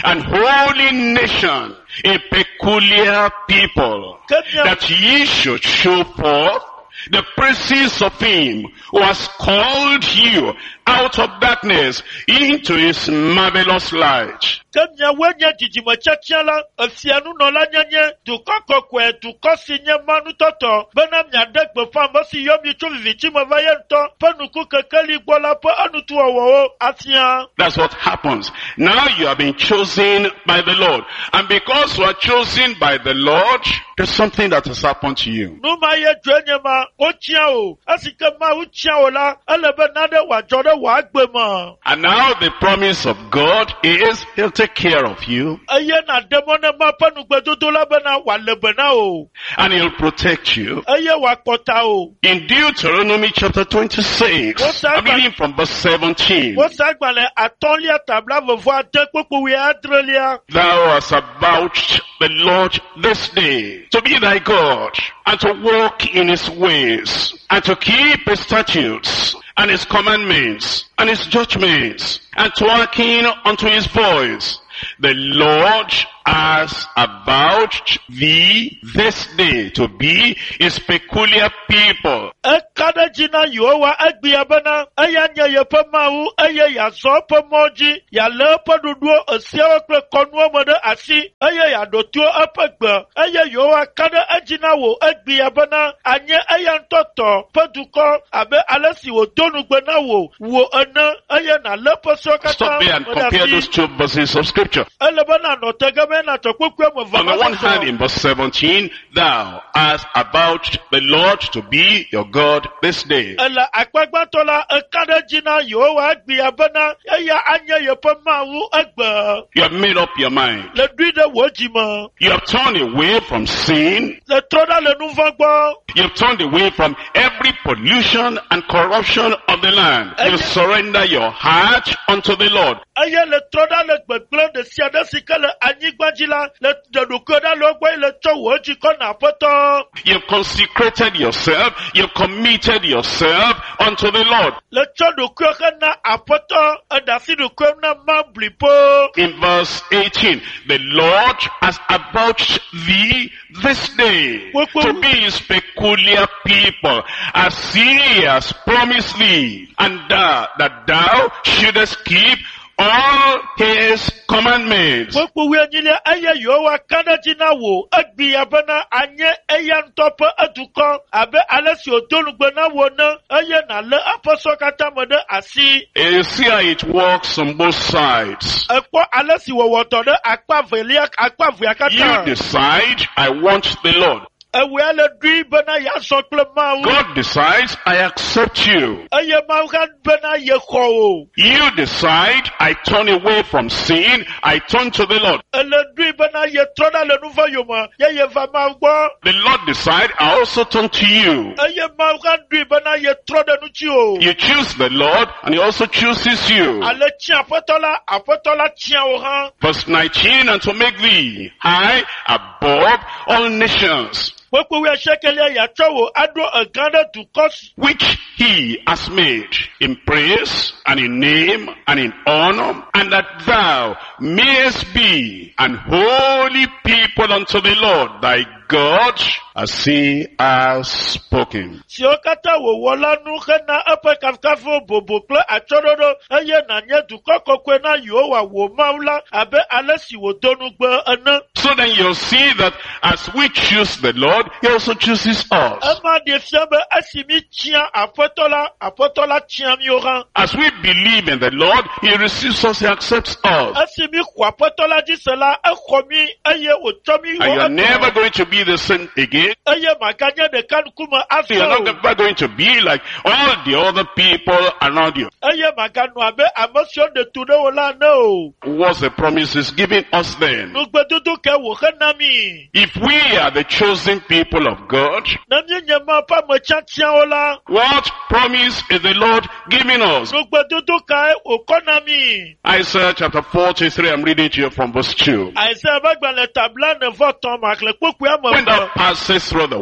and holy nation, a peculiar people, Ke mia that ye should show forth the praises of him who has called you out of darkness into his marvelous light. ke miawoe nye dzidzime tiatia la, efia nunɔla nyenye, dukɔ kɔkɔe, dukɔ si nye manutɔtɔ, bena miaɖe gbeƒã ame si yɔ mi tso viviti me va ye ŋutɔ ƒe nuku kekeli gbɔ la ƒe enutuwɔwɔwo afia. That's what happens. Now you have been chosen by the Lord. And because you are chosen by the Lord, there's something that has happened to you. Nu ma ye dzoe nye ma, wotsia o. Esi ke Mawu tsia o la, ele be nane wòadzɔ ɖe wò agbe me. And now the promise of God is he'll take care of you Eye nàɖe mɔ ne ma ƒe nugbedodo la bena wòale be na o. and he'll protect you. Eye wòakpɔ ta o. In Deuteronomy chapter 26, What's that? I'm reading from verse 17. Wosa agbalẽ atɔ̃lia tabla vevɔ ade kpokpo wuiadrelia. Thou hast avouched the Lord this day to be thy God and to walk in his ways and to keep his statutes and his commandments and his judgments and to hearken unto his voice. The Lord has avouched thee this day to be his peculiar people. Eka ɖe dzi na Yehowa egbea bena eya nye yeƒe Mawu eye yeazɔ eƒe mɔ dzi, yealé eƒe ɖoɖowo, esiawo kple kɔnuwo me ɖe asi eye yeaɖo to eƒe gbe eye Yehowa ka ɖe edzi na wò egbea bena anye eya ŋutɔ tɔ ƒe dukɔ abe ale si wòdo nugbe na wò wò ene eye nàlé eƒe sewo katã Stop there and me ɖe compare asi. those two verses of scripture. Ele be nànɔ te ge be nàtsɔ kpukpui ame eve On the one asɔsɔ. hand, in verse 17, thou hast avouched the Lord to be your God this day. Ele akpa gbãtɔ la, eka ɖe edzi na Yehowa egbea bena eya anye yeƒe Mawu egbe. You have made up your mind. Le ɖui ɖe wò dzi me. You have turned away from sin. Le trɔ ɖa le nu vɔ̃ gbɔ. You have turned away from every pollution and corruption of the land. You surrender your heart unto the Lord. Eye le trɔ ɖa le gbegblẽ ɖe sia ɖe si ke le anyigba dzi la, le ɖe ɖokuiwò ɖa le wo gbɔ eye le tsɔ wò dzi kɔ na Aƒetɔ. You've consecrated yourself. You've committed yourself unto the Lord. Le tsɔ ɖokuiwò hena Aƒetɔ, eɖe asi ɖokuiwò na Mawu blibo. In verse 18, the Lord has avouched thee this day to be his peculiar people, as he has promised thee, and thou, that thou shouldest keep all his commandments. Kpukpui wuienyilia eye Yehowa ka ɖe edzi na wò egbea bena anye eya ŋutɔ ƒe edukɔ abe ale si wòdo nugbe na wò ene eye nàlé eƒe sewo katã me ɖe asi. You see how it works on both sides. Ekpɔ ale si wòwɔ dɔ ɖe akpa velia akpa evea You katã. decide, I want the Lord. Ewɔe le ɖui bena yeazɔ kple Mawu God decides, I accept you. eye Mawu hã bena yexɔ wò. You decide, I turn away from sin, I turn to the Lord. Ele ɖui bena yetrɔ ɖa le nu vɔ̃ yome ye yeva Mawu gbɔ The Lord decide, I also turn to you. eye Mawu hã ɖui bena yetrɔ ɖe ŋuti o. You choose the Lord and he also chooses you. Ale tsia Aƒetɔ la, Aƒetɔ la tsia wò hã. Verse 19, and to make thee high above all nations, Kpukpui wuiasiekelia yeatsɔ wò aɖo egã ɖe dukɔ si which he has made in praise and in name and in honor, and that thou mayest be an holy people unto the Lord thy God, as he has spoken. siwo katã wòwɔ la nu hena eƒe kafukafu bobo kple atsyɔ̃ɖoɖo eye nànye dukɔ kɔkɔe na Yehowa wò Mawu la abe ale si wòdo nugbe ene. So then you'll see that as we choose the Lord, he also chooses us. Ema ɖe fia be esi mi tsia Aƒetɔ la, Aƒetɔ la tsia míwo hã. As we believe in the Lord, he receives us, he accepts us. Esi mi xɔ Aƒetɔ la dzi se la, exɔ mi eye wòtsɔ mi And wɔ you're never etɔ going to be the same again. eye maganye ɖeka ŋkume azɔ You're o not ever going to be like all the other people around you. eye maganɔ abe ame siwo ɖe tu ɖe wò la ene o. What's the promises given us then? Nugbedodo ke wòhe na mi. If we are the chosen people of God, Ne míenye Mawu ƒe ame tiatiawo la, what promise is the Lord giving us? nugbedodo kae wòkɔ na mi? Isaiah chapter 43, I'm reading to you from verse 2. Isaiah ƒe agbalẽ ta blaene-vɔ-etɔ̃ maxlẽ kpukpui ame When thou eve. passest through the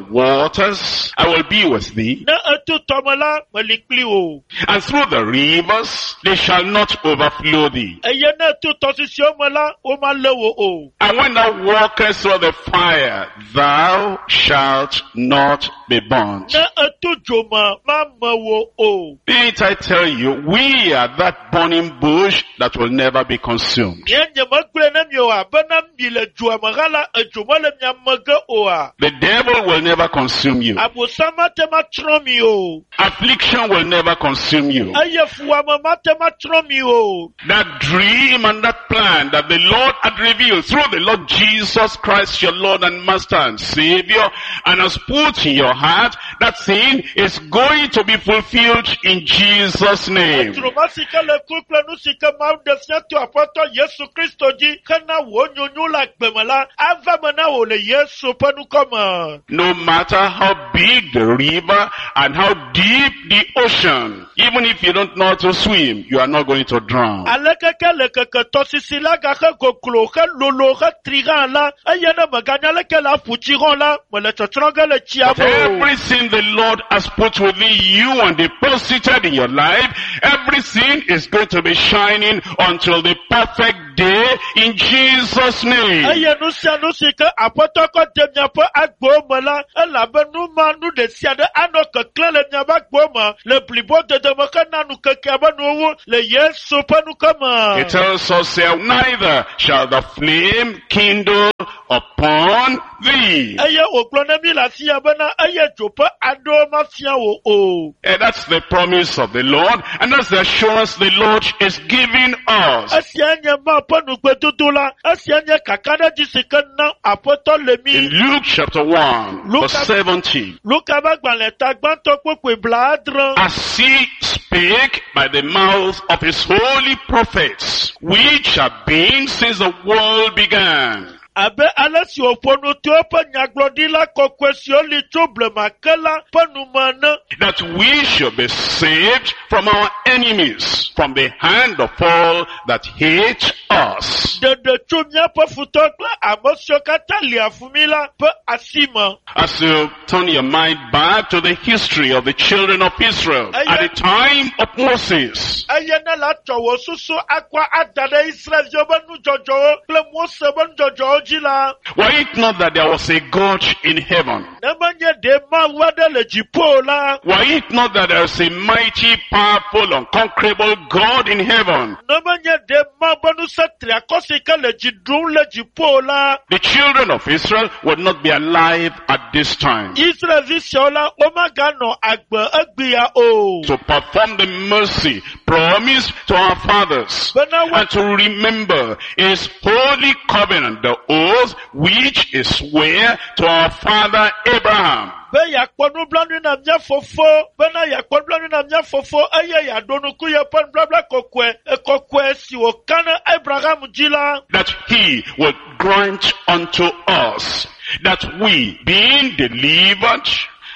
waters, I will be with thee. Ne eto tɔme la, meli kpli wò. And through the rivers, they shall not overflow thee. Eye ne eto tɔsisiwo me la, womalé wò o. And when thou walkest through the fire, thou shalt not be burnt. Ne eto dzo me, mame wò o. Didn't I tell you, we are that burning bush that will never be consumed. Nye nyemegblɔe ne mi oa, bena mi le dzoa me hã la, edzo mele mia me ge oa. The devil will never consume you. Abosam mate ma tsrɔ̃ mi o. Affliction will never consume you. Eye fuwɔame mate ma tsrɔ̃ mi o. That dream and that plan that the Lord had revealed through the Lord Jesus Christ, your Lord and Master and Savior, and has put in your heart, that thing is going to be fulfilled in Jesus' name. Dzroma si ke le ku kple nu si ke Mawu ɖe fia to Aƒetɔ Yesu Kristo dzi hena wò nyonyo le agbe me la, ava me na wò le Yesu ƒe ŋkɔ me. No matter how big the river and how deep the ocean, even if you don't know how to swim, you are not going to drown. Aleke ke le keke tɔsisi la gaxe goglo he lolo he tri hã la, eye ne meganya leke le aƒu tsi hã la, mele tsɔtsrɔ̃ ge le tsia But me o. everything the Lord has put within you and deposited in your life, everything is going to be shining until the perfect day in Jesus' name. Eye nu sia nu si ke aƒetɔ kɔ de miaƒe agbewo me la, elabe nu ma nu ɖe sia ɖe anɔ keklẽ le miaƒe agbewo me le blibodede me hena nukekea be nuwo le Yesu ƒe ŋkɔ me. It tells us here, neither shall the flame kindle upon thee. Eye wògblɔ na mí le afi ya bena eye dzo ƒe aɖewo mafia wò o. And that's the promise of the Lord, and that's the assurance the Lord is giving us. Esia nye Mawu ƒe nugbedodo la, esia nye kakaɖedzi si ke nam aƒetɔ le In mí. Luke chapter 1, Luke verse 70, Luka ƒe agbalẽ ta gbãtɔ kpukpui blaadre. as he spake by the mouth of his holy prophets, which have been since the world began. Abe ale si wòƒo nu to eƒe nyagblɔɖila kɔkɔe siwo li tso blema ke la ƒe nume ene. That we should be saved from our enemies, from the hand of all that hate us. Ɖeɖe tso míaƒe futɔ kple ame siwo katã lia fu mí la ƒe asi me. As you turn your mind back to the history of the children of Israel at the time of Moses, Eye ne la tsɔ wò susu akɔ ada ɖe Israelviwo ƒe nudzɔdzɔwo kple Mose ƒe nudzɔdzɔwo dzi la, were it not that there was a God in heaven, ne menye ɖe Mawu aɖe le dziƒo o la, were it not that there is a mighty, powerful, unconquerable God in heaven, ne menye ɖe Mawu ƒe ŋusẽ triakɔ si ke le dzi ɖum le dziƒo o la, the children of Israel would not be alive at this time Israelvi siawo la, womaganɔ agbe egbea o. to perform the mercy promised to our fathers Bena wo and to remember his holy covenant, the oath which is swear to our father Abraham. be yeakpɔ nublanui na mía fofo bena yeakpɔ nublanui na mía fofo eye yeaɖo ŋku yeƒe nubabla kɔkɔe ekɔkɔe si wòka na Abraham dzi la That he would grant unto us that we, being delivered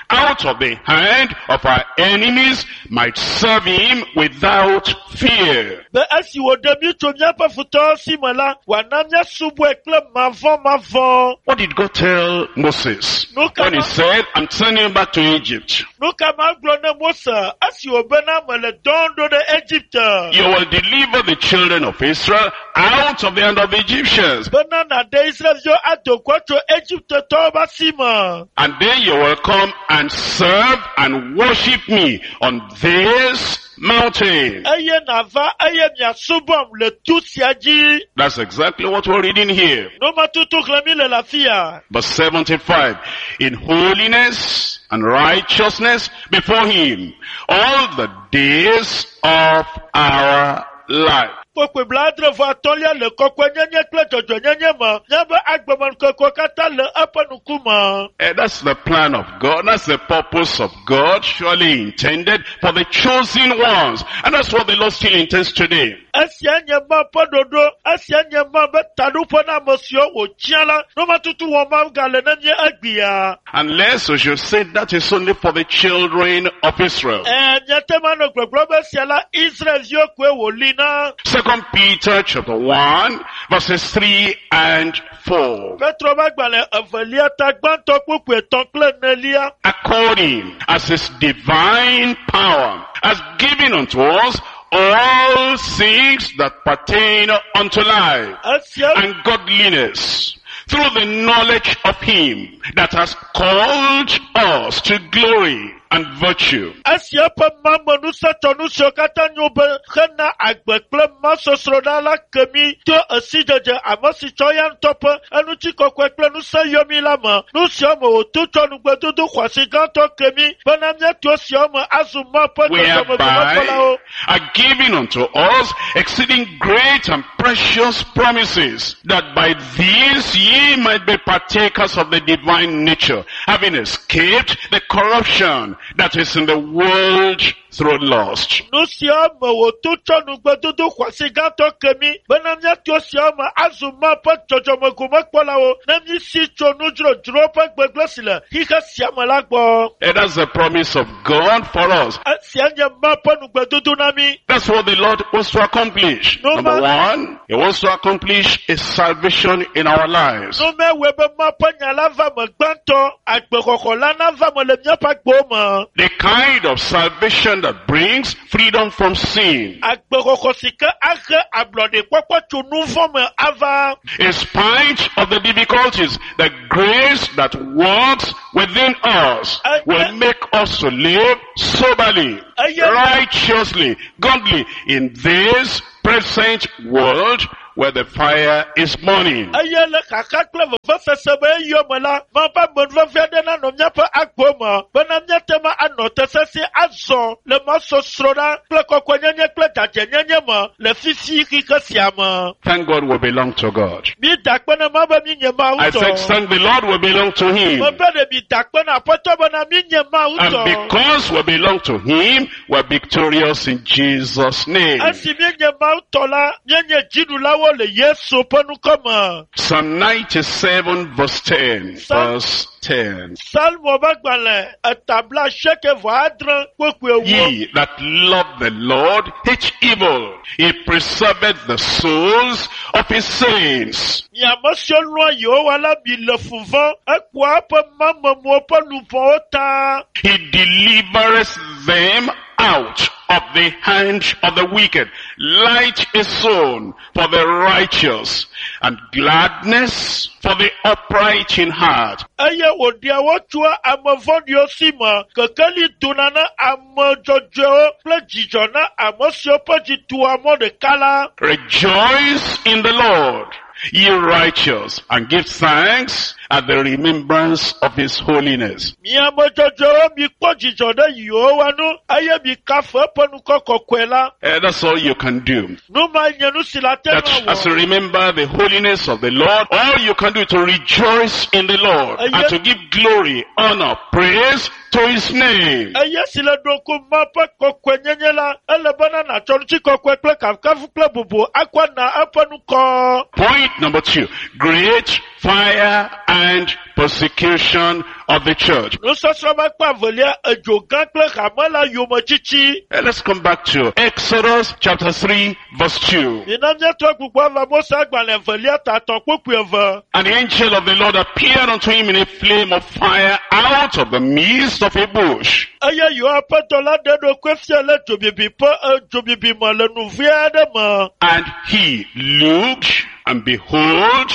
out of the hand of our enemies, might serve him without fear. be esi wòɖe mí tso míaƒe futɔwo si me la wòana míasubɔe kple mavɔmavɔ. What did God tell Moses? Nu ka When he ma said, I'm sending you back to Egypt. nu ka ma gblɔ ne Mose esi wòbena mele dɔm ɖo ɖe Egipte You will deliver the children of Israel out of the hand of the Egyptians. bena nàɖe Israelviwo ado go tso Egiptetɔwo ƒe asi me. And then you will come and serve and worship me on this mountain. Eye nàva eye miasubɔm le tu sia dzi. That's exactly what we're reading here. Nu ma tutu xlẽm mi le le afi ya. Verse 75, in holiness and righteousness before him all the days of our life. Kpukpui blaadre vɔ atɔ̃lia le kɔkɔenyenye kple dzɔdzɔenyenye me. Míaƒe agbemenukekewo katã le eƒe ŋkume. That's the plan of God. That's the purpose of God, surely intended for the chosen ones. And that's what the Lord still intends today. Esia nye Mawu ƒe ɖoɖo. Esia nye Mawu ƒe taɖoƒe na ame siwo wòtia la. Nu ma tutu wɔm Mawu gale na mí egbea. Unless we should say that is only for the children of Israel. Ɛɛ, míate ŋu anɔ gbɔgblɔm be esia la Israelviwo koe wòli na. Second Peter chapter 1 verses 3 and 4. Petro ƒe agbalẽ evelia ta gbãtɔ kpukpui etɔ̃ kple enelia. According as his divine power has given unto us all things that pertain unto life Esia and godliness through the knowledge of him that has called us to glory and virtue. Esia ƒe mamenusetsɔnu siwo katã nyo be hena agbe kple masɔsrɔ̃ɖa la ke mí to esidzedze ame si tsɔ ya ŋutɔ ƒe enutikɔkɔe kple ŋusẽ yɔ mí la me. Nu siawo me wòto tsɔ nugbedodo xɔasi gãtɔ ke mí bena míato esiawo me azu Mawu ƒe Whereby dzɔdzɔmegɔmekpɔlawo. are given unto us exceeding great and precious promises, that by these ye might be partakers of the divine nature, having escaped the corruption that is in the world through lust. Nu siawo me wòto tsɔ nugbedodo xɔasi gãtɔ ke mí bena míato esiawo me azu Mawu ƒe dzɔdzɔmegomekpɔlawo ne mísi tso nudzodzro ƒe gbegblẽ si le xixe sia me la gbɔ. And that's the promise of God for us. Esia nye Mawu ƒe nugbedodo na mí. That's what the Lord wants to accomplish. No Number man- one, He wants to accomplish His salvation in our lives. Numewɔe be Mawu ƒe nya la va me gbãtɔ, agbexɔxɔ la nava me le míaƒe agbewo me. The kind of salvation that brings freedom from sin. Agbexɔxɔ si ke ahe ablɔɖekpɔkpɔ tso nu vɔ me ava. In spite of the difficulties, the grace that works within us will make us to live soberly, righteously, godly in this present world where the fire is burning. Eye le xaxa kple vevesese be eyɔ me la, ma ƒe amenuveve aɖe nanɔ míaƒe agbo me bena míate ŋu anɔ te sesĩe azɔ le mɔsɔsrɔ̃ ɖa kple kɔkɔenyenye kple dzadzɛnyenye me le fifi xixe sia me. Thank God we belong to God. Mi da akpe na Mawu be mi nye Mawu I said, tɔ. thank the Lord we belong to Him. Mebe ɖe mi da akpe na Aƒetɔ bena mi nye Mawu And tɔ. because we belong to Him, we're victorious in Jesus' name. Esi míenye Mawu tɔ la, míenye dziɖulawo le Yesu ƒe ŋkɔ me. Psalm 97 verse 10. Verse 10. Salmo ƒe agbalẽ etabla asieke vɔ adre kpokpoe ewo. Ye that love the Lord hate evil. He preserveth the souls of his saints. Mi ame siwo lɔ̃a Yehowa la mi le fu vɔ̃, ekpɔa eƒe mamemewo ƒe luʋɔwo ta. He delivereth them out of the hand of the wicked. Light is sown for the righteous and gladness for the upright in heart. Eye wòɖea wo tsoa ame vɔ̃ɖiwo si me. Kekeli dona na ame dzɔdzɔewo kple dzidzɔ na ame siwo ƒe dzi tua mɔ ɖeka la. Rejoice in the Lord, ye righteous, and give thanks at the remembrance of his holiness. Mi ame dzɔdzɔewo mikpɔ dzidzɔ ɖe Yehowa ŋu eye mikafu eƒe ŋkɔ kɔkɔe la. That's all you can do. Nu ma nye nu si le ate That ŋu as you awɔ. remember the holiness of the Lord, all you can do is to rejoice in the Lord and to give glory, honor, praise to his name. Eye si le ɖo ŋku Ma ƒe kɔkɔenyenye la, ele bena nàtsɔ ŋutikɔkɔe kple kafukafu kple bubu akɔ na eƒe ŋkɔ. Point number 2, great fire and persecution of the church. Nusɔsrɔ̃ ƒe akpa evelia, edzo gã kple hame la yometiti. Let's come back to Exodus chapter 3 verse 2. Mina míatrɔ gbugbɔ ava Mose agbalẽ evelia ta etɔ̃ kpukpui eve. And the angel of the Lord appeared unto him in a flame of fire out of the midst of a bush. Eye Yehowa ƒe dɔla ɖe eɖokui fia le dzobibi ƒe dzobibi me le nuvi aɖe me. And he looked, and behold,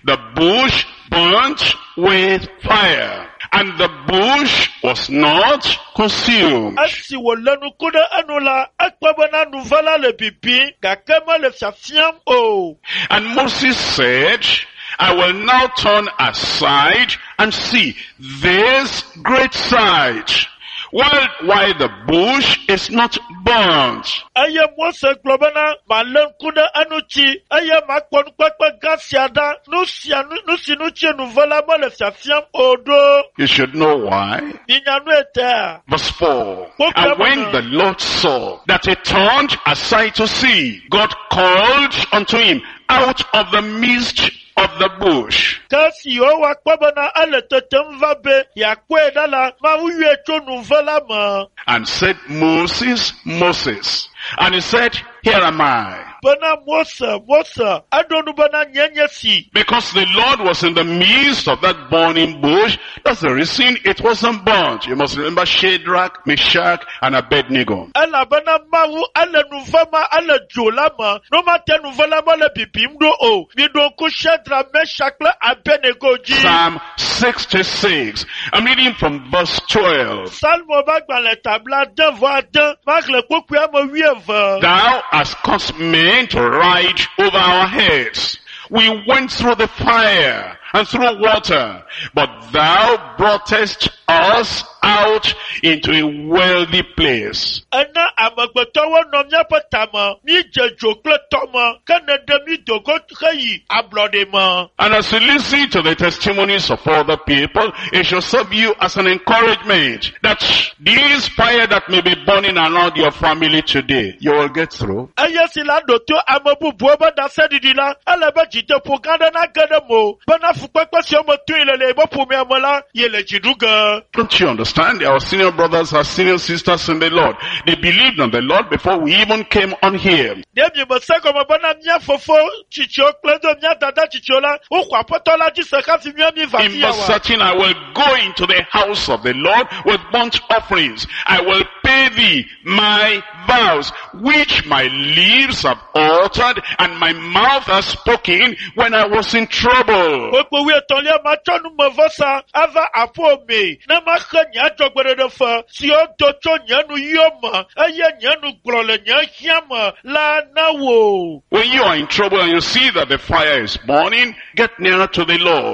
the bush burnt with fire, and the bush was not consumed. Esi wòlé nuku ɖe enu la, ekpɔ bena nuve la le bibim gake mele fiafiam o. And Moses said, I will now turn aside and see this great sight, while the bush is not burnt. Eye Mose gblɔ bena, malé ŋku ɖe eŋuti eye makpɔ nukpekpe gã sia ɖa, nu sia nu nu si ŋuti nuve la mele fiafiam o ɖo. You should know why. Minya nu etea. Verse 4. And when the Lord saw that he turned aside to see, God called unto him out of the midst of the bush. Ke esi Yehowa kpɔ bena ele tetem va be yeakpɔe ɖa la, Mawu yɔe tso nuve la me. And said, Moses, Moses. And he said, Here am I. Bena Mose, Mose, eɖo nu bena nye nye si. Because the Lord was in the midst of that burning bush, that's the reason it wasn't burnt. You must remember Shadrach, Meshach, and Abednego. Elabena Mawu ele nuve ma ele dzo la me. No ma te nuve la mele bibim ɖo o. Miɖo ŋku Shadrach, Meshach kple Abednego dzi. Psalm 66. I'm reading from verse 12. Salmo ƒe agbalẽ tabla ade vɔ ade maxlẽ kpukpui ame wuieve. Thou hast caused men to ride over our heads. We went through the fire and through water, but thou broughtest us out into a wealthy place. Ena amegbetɔwo nɔ míaƒe tame, mídze dzo kple tɔme, ke nèɖe mí do go heyi ablɔɖe me. And as you listen to the testimonies of other people, it shall serve you as an encouragement that this fire that may be burning around your family today, you will get through. Eye si la ɖo to ame bubuwo be ɖaseɖiɖi la, ele be dzideƒo gã aɖe nage ɖe mo bena fukpekpe siwo me toe le le yeƒe ƒomea me la, ye le dzi ɖu ge. be. Don't you understand? Our senior brothers, our senior sisters in the Lord, they believed on the Lord before we even came on here. Ɖe mi me se gɔme bena mía fofo tsitsiwo kple do mía dada tsitsiwo la, woxɔ aƒetɔ la dzi se hafi mía mi va In fi ya verse wa. 13, I will go into the house of the Lord with burnt offerings. I will pay thee my vows, which my lips have uttered and my mouth has spoken when I was in trouble. Kpukpui wuietɔ̃lia matsɔ numevɔsa ava aƒewò mee ne maxe nye adzɔgbeɖeɖe fe siwo do tso nye nuyiwo me eye nye nu gblɔ le nye hiã me la na wò. When you are in trouble and you see that the fire is burning, get nearer to the Lord.